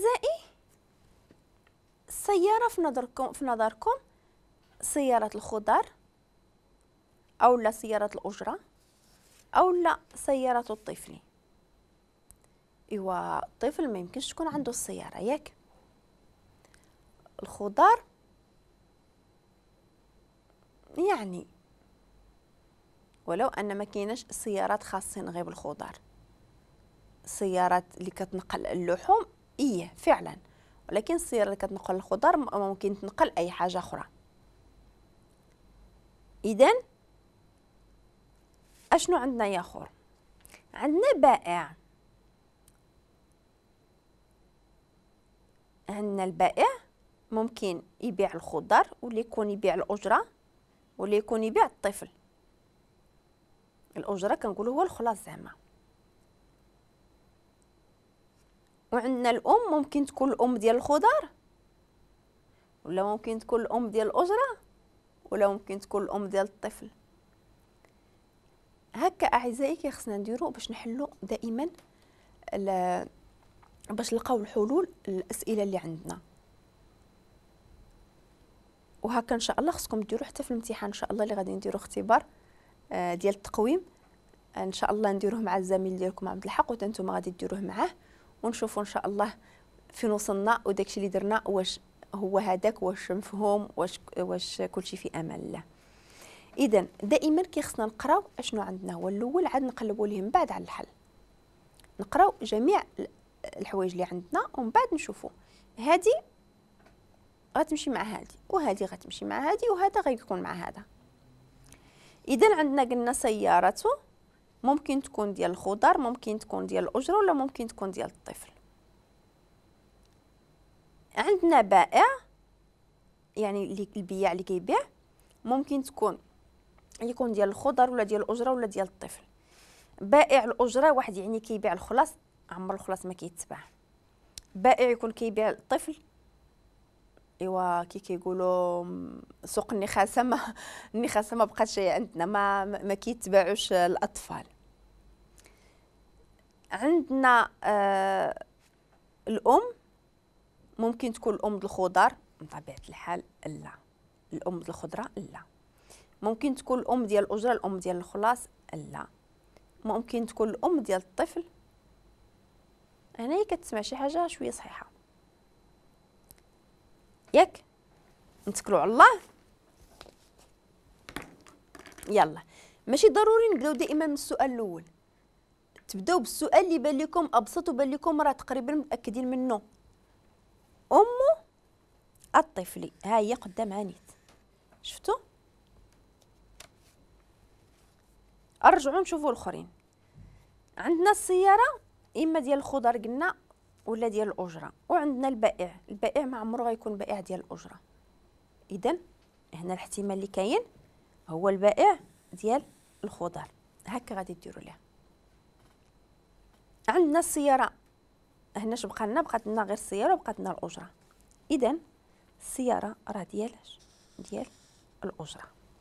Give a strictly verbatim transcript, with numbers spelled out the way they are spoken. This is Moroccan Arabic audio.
اعزائي السيارة في نظركم في نظركم سيارة الخضر او لا سيارة الاجرة او لا سيارة الطفل؟ ايوا الطفل ما يمكنش تكون عنده السيارة، ياك؟ الخضر يعني ولو ان ما كايناش سيارات خاصين غير بالخضر، السيارات اللي كتنقل اللحوم ايه فعلا، ولكن السيارة اللي كتنقل الخضر ممكن تنقل اي حاجة اخرى. اذا اشنو عندنا يا اخر؟ عندنا بائع، عندنا البائع ممكن يبيع الخضر ولا يكون يبيع الاجرة ولا يكون يبيع الطفل. الاجرة كنقولوا هو الخلاص زعما. وعندنا الام ممكن تكون الام ديال الخضر ولا ممكن تكون الام ديال الاجرة ولا ممكن تكون الام ديال الطفل. هكا اعزائي كيخصنا نديرو باش نحلو دائما باش نلقاو الحلول الاسئلة اللي عندنا. وهكا ان شاء الله خصكم ديروا حتى في الامتحان ان شاء الله اللي غادي نديرو اختبار ديال التقويم ان شاء الله نديروه مع الزميل ديالكم عبد الحق، وانتم غادي ديروه معاه، ونشوفوا ان شاء الله فين وصلنا وداكشي اللي درنا واش هو هذاك، واش مفهوم، واش واش كلشي في امان الله. اذا دائما كيخصنا نقراو اشنو عندنا هو الاول، عاد نقلبوا ليه من بعد على الحل. نقراو جميع الحوايج اللي عندنا ومن بعد نشوفوا هذه غتمشي مع هذه وهذه غتمشي مع هذه وهذا غيكون مع هذا. اذا عندنا قلنا سيارته ممكن تكون ديال الخضر، ممكن تكون ديال الاجرة، ولا ممكن تكون ديال الطفل. عندنا بائع يعني اللي البياع اللي كيبيع ممكن تكون يكون ديال الخضر ولا ديال الاجرة ولا ديال الطفل. بائع الاجرة واحد يعني كيبيع الخلاص، عمر الخلاص ما كيتباع. بائع يكون كيبيع الطفل، ايوا كي كيقولوا سوق النخاسه ما النخاسه ما بقاتش عندنا، ما ما كيتباعوش الاطفال. عندنا آه الام ممكن تكون الام ديال الخضر بطبيعة الحال، لا الام ديال الخضرة لا. ممكن تكون الام ديال الاجرة، الام ديال الخلاص لا. ممكن تكون الام ديال الطفل. هنايا كتسمع شي حاجة شوية صحيحه، ياك؟ نتكلوا على الله. يلا ماشي ضروري نبداو دائما من السؤال الاول، تبداو بالسؤال اللي بان لكم ابسط وبان لكم راه تقريبا متاكدين منه. ام الطفل ها هي قدام عانيت، شفتوا؟ ارجعوا نشوفوا الاخرين. عندنا السيارة اما ديال الخضر قلنا ولا ديال الاجرة، وعندنا البائع، البائع ما عمره غيكون بائع ديال الاجرة. اذا هنا الاحتمال اللي كاين هو البائع ديال الخضر. هكا غادي ديروا لها. عندنا السيارة هنا اش بقى لنا؟ بقات لنا غير السيارة وبقات لنا الاجرة. اذا السيارة راه ديال ديال الاجرة.